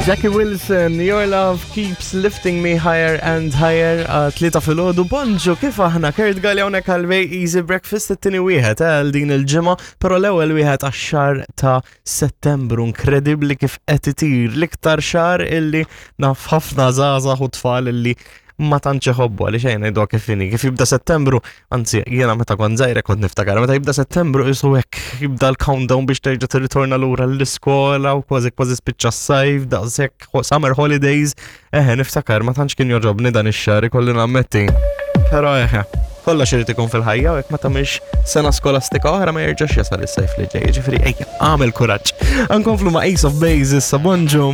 Jackie Wilson, Your Love Keeps Lifting Me Higher and Higher, tlieta filgħodu, bonġu, kif aħna, Kurt Galli hawnhekk għal Bay Easy Breakfast, it-tieni wieħed eh, għal din il-ġimgħa, però l-ewwel wieħed għax-xahar ta' Settembru, inkredibbli kif qed itir l-iktar xahar illi naf ħafna żgħażagħ u tfal illi ma tantx iħobbu għaliex ejja ngħiduha kif inhi. Kif jibda Settembru, anzi jiena meta kont żgħira kont niftakar, meta jibda Settembru isu hekk jibda l-countdown biex terġa' tirritorna lura l-iskola u kważi kważi spiċċa s-sajf, daqshekk summer holidays. Eħe niftakar ma tantx kien jogħġobni dan ix-xahar ikolli nammetti. Però eħe, kollox irid ikun fil-ħajja u jekk ma tagħmilx sena skolastika oħra ma jerġax jasal is-sajf li ġej. Ġifieri ejja, għamel kuraġġ. Ankomplu ma' Ace of Base issa bonġu.